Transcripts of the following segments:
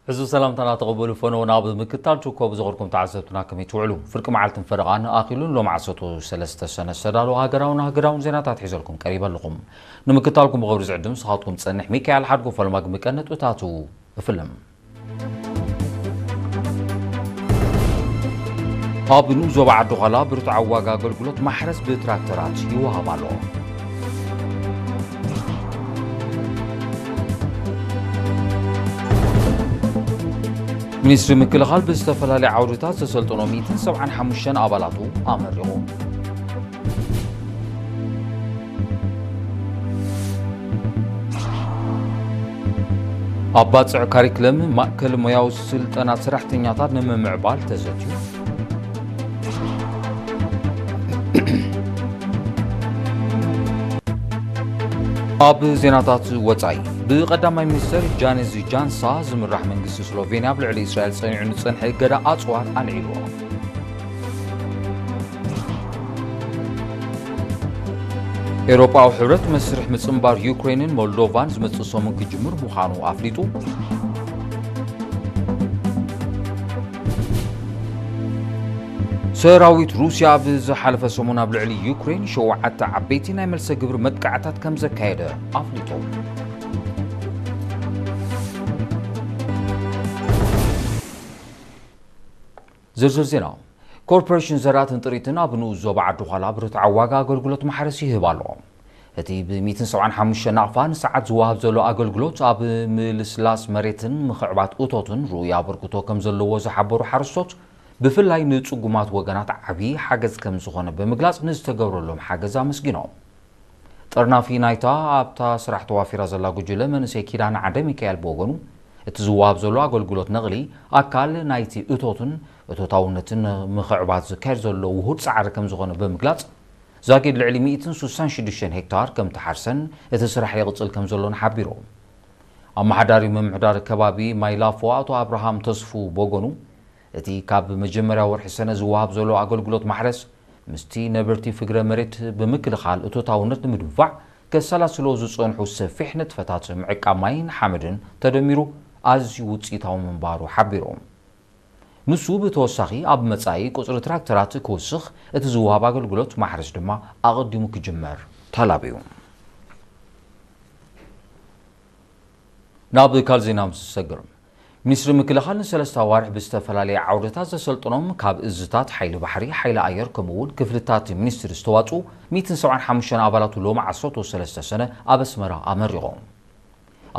ሕዙ ሰላምታና ተቐበሉ ፈነው ናብ ምክታል ችኮ ብዝኸርኩም ተዓዘብትና ከመይ ትውዕሉ? ፍርቂ መዓልትን ፈረቓን ኣኺሉን ሎም ዓሰርተ ሰለስተ ሰነ ዝተዳለወ ሃገራውን ሃገራውን ዜናታት ሒዘልኩም ቀሪበ ኣለኹም። ንምክታልኩም ብኽብሪ ዝዕድም ስኻትኩም ጸንሕ ሚካኤል ሓድጎ ፈልማግ ምቀነጥ እታቱ እፍልም። ኣብ ንኡስ ዞባ ዓዲ ዃላ ብርቱዓዊ ዋጋ ኣገልግሎት ማሕረስ ብትራክተራት ይወሃብ ኣሎ። ሚኒስትሪ ምክልኻል ብዝተፈላለየ ዓውድታት ዘሰልጠኖ ሚእትን ሰብዓን ሓሙሽተን ኣባላቱ ኣመሪቑ። ኣብ ባጽዕ ካሪክለም ማእከል ሞያዊ ስልጠና ሰራሕተኛታት ንምምዕባል ተዘትዩ። ኣብ ዜናታት ወጻኢ፣ ብቐዳማይ ሚኒስተር ጃኒዝ ጃንሳ ዝምራሕ መንግስቲ ስሎቬንያ ኣብ ልዕሊ እስራኤል ጸኒዑ ንጸንሐ እገዳ ኣጽዋር ኣልዒልዎ። ኤውሮጳዊ ሕብረት መስርሕ ምጽንባር ዩክሬንን ሞልዶቫን ዝመጽእ ሰሙን ክጅምር ምዃኑ ኣፍሊጡ። ሰራዊት ሩስያ ኣብ ዝሓለፈ ሰሙን ኣብ ልዕሊ ዩክሬን ሸውዓተ ዓበይቲ ናይ መልሰ ግብሪ መጥቃዕታት ከም ዘካየደ ኣፍሊጡ። ዝርዝር ዜና። ኮርፖሬሽን ዘራእትን ጥሪትን ኣብ ንኡስ ዞባ ዓዲ ዃላ ብርትዓዊ ዋጋ ኣገልግሎት ማሕረስ ይህብ ኣሎ። እቲ ብ ሚእትን ሰብዓን ሓሙሽተ ናቕፋ ንሰዓት ዝወሃብ ዘሎ ኣገልግሎት ኣብ ምልስላስ መሬትን ምኽዕባት እቶትን ርኡይ ኣበርክቶ ከም ዘለዎ ዝሓበሩ ሓረስቶት፣ ብፍላይ ንጽጉማት ወገናት ዓቢ ሓገዝ ከም ዝኾነ ብምግላጽ፣ ንዝተገብረሎም ሓገዝ ኣመስጊኖም። ጠርናፊ ናይታ ኣብታ ስራሕ ተዋፊራ ዘላ ጉጅለ መንእሰይ ኪዳነ ዓንደ ሚካኤል ብወገኑ፣ እቲ ዝወሃብ ዘሎ ኣገልግሎት ነቕሊ ኣካል ናይቲ እቶትን እቶታውነትን ንምኽዕባት ዝካየድ ዘሎ ውሁድ ጻዕሪ ከም ዝኾነ ብምግላጽ፣ ዛጊድ ልዕሊ ሚእትን ስሳን ሽዱሽተን ሄክታር ከም ተሓርሰን እቲ ስራሕ ይቕጽል ከም ዘሎን ሓቢሩ። ኣመሓዳሪ ምምሕዳር ከባቢ ማይላፎ ኣቶ ኣብርሃም ተስፉ ብወገኑ፣ እቲ ካብ መጀመርያ ወርሒ ሰነ ዝወሃብ ዘሎ ኣገልግሎት ማሕረስ ምስቲ ነበርቲ ፍግረ መሬት ብምክልኻል እቶታውነት ንምድንፋዕ ከሰላስሎ ዝጸንሑ ሰፊሕ ንጥፈታት ምዕቃብ ማይን ሓመድን ተደሚሩ ኣዝዩ ውጽኢታዊ ምንባሩ ሓቢሩ። ንሱ ብተወሳኺ ኣብ መጻኢ ቁጽሪ ትራክተራት ክውስኽ፣ እቲ ዝወሃብ ኣገልግሎት ማሕረስ ድማ ኣቐዲሙ ክጅመር ተላብዩ። ናብ ካልእ ዜና ምስ ዝሰግር፣ ሚኒስትሪ ምክልኻል ንሰለስተ ኣዋርሕ ብዝተፈላለየ ዓውድታት ዘሰልጠኖም ካብ እዝታት ሓይሊ ባሕሪ፣ ሓይሊ ኣየር ከምኡ እውን ክፍልታት ሚኒስትሪ ዝተዋፅኡ ሚእትን ሰብዓን ሓሙሽተን ኣባላቱ ሎሚ ዓሰርተ ሰለስተ ሰነ ኣብ ኣስመራ ኣመሪቖም።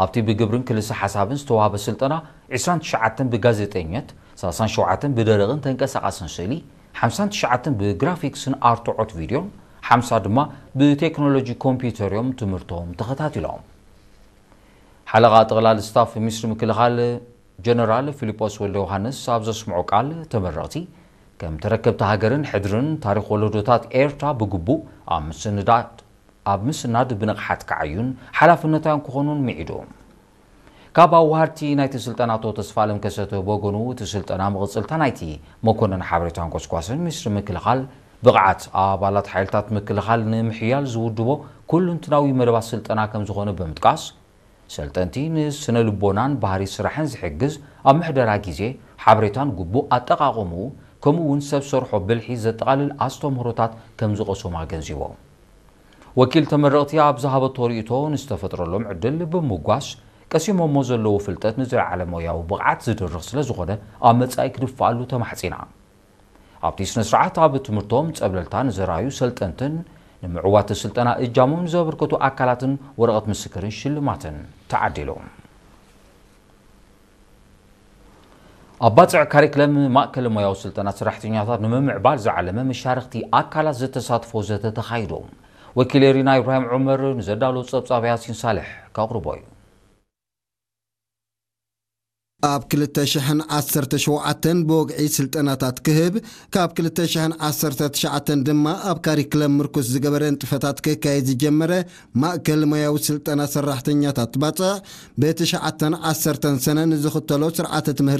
ኣብቲ ብግብርን ክልሰ ሓሳብን ዝተዋህበ ስልጠና ዕስራን ትሽዓተን ብጋዜጠኝነት፣ ሰላሳን ሸውዓተን ብደረቕን ተንቀሳቓስን ስእሊ፣ ሓምሳን ትሽዓተን ብግራፊክስን ኣርትዖት ቪድዮን፣ ሓምሳ ድማ ብቴክኖሎጂ ኮምፒውተር እዮም ትምህርቶም ተኸታቲሎም። ሓለቓ ጠቕላሊ ስታፍ ሚኒስትሪ ምክልኻል ጀነራል ፊሊጶስ ወልደ ዮሃንስ ኣብ ዘስምዖ ቃል፣ ተመረቕቲ ከም ተረከብቲ ሃገርን ሕድርን ታሪኽ ወለዶታት ኤርትራ ብግቡእ ኣብ ምስንዳድ ኣብ ምስናድ ብንቕሓት ክዓዩን ሓላፍነታውያን ክኾኑን ምዒዱ። ካብ ኣዋሃድቲ ናይቲ ስልጠና ኣቶ ተስፋኣለም ከሰተ ብወገኑ፣ እቲ ስልጠና መቐጸልታ ናይቲ መኮነን ሓበሬታን ጎስጓስን ሚኒስትሪ ምክልኻል ብቕዓት ኣባላት ሓይልታት ምክልኻል ንምሕያል ዝውድቦ ኩሉንትናዊ መደባት ስልጠና ከም ዝኾነ ብምጥቃስ፣ ሰልጠንቲ ንስነ ልቦናን ባህሪ ስራሕን ዝሕግዝ ኣብ ምሕደራ ግዜ፣ ሓበሬታን ግቡእ ኣጠቓቕምኡ፣ ከምኡ እውን ሰብ ሰርሖ ብልሒ ዘጠቓልል ኣስተምህሮታት ከም ዝቐሰሙ ኣገንዚቦም። ወኪል ተመረቕቲ ኣብ ዝሃበቶ ርእይቶ፣ ንዝተፈጥረሎም ዕድል ብምጓስ ቀሲሞሞ ዘለዉ ፍልጠት ንዝለዓለ ሞያዊ ብቕዓት ዝድርኽ ስለ ዝኾነ፣ ኣብ መጻኢ ክድፍኣሉ ተማሕጺና። ኣብቲ ስነ ስርዓት ኣብ ትምህርቶም ጸብለልታ ንዘርኣዩ ሰልጠንትን ንምዕዋት ስልጠና እጃሞም ንዘበርከቱ ኣካላትን ወረቐት ምስክርን ሽልማትን ተዓዲሉ። ኣብ ባጽዕ ካሪክለም ማእከል ሞያዊ ስልጠና ሰራሕተኛታት ንምምዕባል ዝዓለመ መሻርኽቲ ኣካላት ዘተሳትፎ ዘተ ተኻይዱ። ወኪል ኤሪና ኢብራሂም ዑመር ንዘዳሎ ጸብጻብ ያሲን ሳልሕ ከቕርቦ እዩ። ኣብ ክልተ ሽሕን ዓሰርተ ሸውዓተን ብወግዒ ስልጠናታት ክህብ፣ ካብ ክልተ ሽሕን ዓሰርተ ትሽዓተን ድማ ኣብ ካሪክለም ምርኩስ ዝገበረ ንጥፈታት ክካየድ ዝጀመረ ማእከል ሞያዊ ስልጠና ሰራሕተኛታት ባጽዕ፣ ብትሽዓተን ዓሰርተን ሰነ ንዝኽተሎ ስርዓተ ትምህርቲ